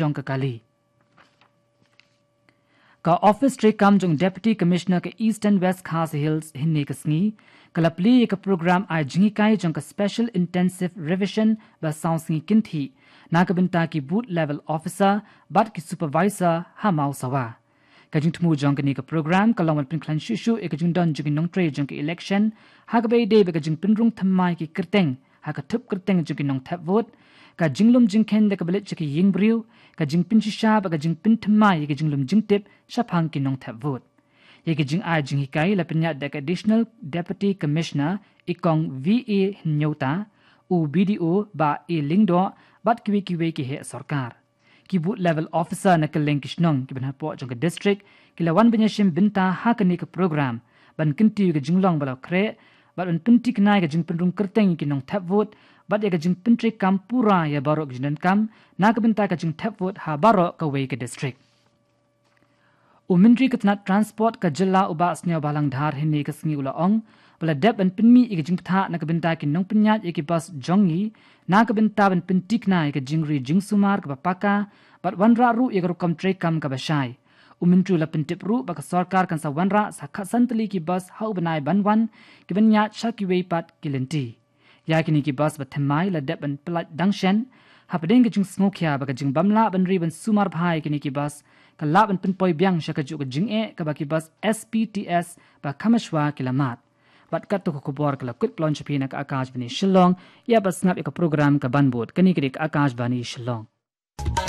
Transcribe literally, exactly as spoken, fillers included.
jong ka kali. Ka office treikam jong Deputy Commissioner ka Eastern West Khasi Hills hynne ka sngi ka la plie ïa ka program ai jinghikai jong ka Special Intensive Revision ba saw sngi kynthih na ka bynta ki booth level officer bad ki supervisor ha Mawsawa. Ka jingthmu jong kane ka program ka long ban pynkhlaiñ shuh shuh ïa ka jingdon jong ki nongtrei jong ka election ha kaba ïadei bad ka jingpynrung thymmai ki kyrteng ha ka thup kyrteng jong ki nongthep vote, ka jinglum jingkheiñ da kaba leit sha ki ïingbriew, ka jingpynshisha bad ka jingpynthymmai ïa ka jinglum jingtip shaphang ki nongthep vote. Ïa ka jingai jinghikai la pynïaid da ka Additional Deputy Commissioner i Kong V A Hynñiewta, u B D O Bah A Lyngdoh bad kiwei kiwei ki heh sorkar. Ki booth level officer na kylleng ki shnong kiban hapoh jong ka district ki la wan ban ïashim bynta ha kane ka program ban kyntiew ïa ka jinglong ba la khreh bad ban pynthikna ïa ka jingpynrung kyrteng ïa ki nongthep vote bad ïa ka jingpyntreikam pura ïa baroh ka jingdonkam na ka bynta ka jingthep vote ha baroh kawei ka district. U Myntri ka tnat Transport ka jylla u Bah Sniawbhalang Dhar hynne ka sngi u la ong ba la dep ban pynmih ïa ka jingpyntha na ka bynta ki nongpynïaid ïa ki bus jong ngi na ka bynta ban pynthikna ïa ka jingri jingsumar kaba paka bad wanrah ruh ïa ka rukom treikam kaba shai. U Myntri u la pyntip ruh ba ka sorkar kan sa wanrah sa khatsan tylli ki bus ha u bnai ban wan kiban ïaid sha kiwei pat ki lynti. Ïa kine ki bus ba thymmai la dep ban pyllait dang shen hapdeng ka jingsngewkhia ba ka jingbym lah ban ri ban sumar bha ïa kine ki bus ka lah ban pynpoi biang sha kajuh ka jingeh kaba ki bus S P T S ba kham shwa ki la mad. Bad katto ka khubor ka la kut paw sha phi na ka Akashvani Shillong. Ïa ba sngap ïa ka program ka ban bud, kane ka dei ka Akashvani Shillong.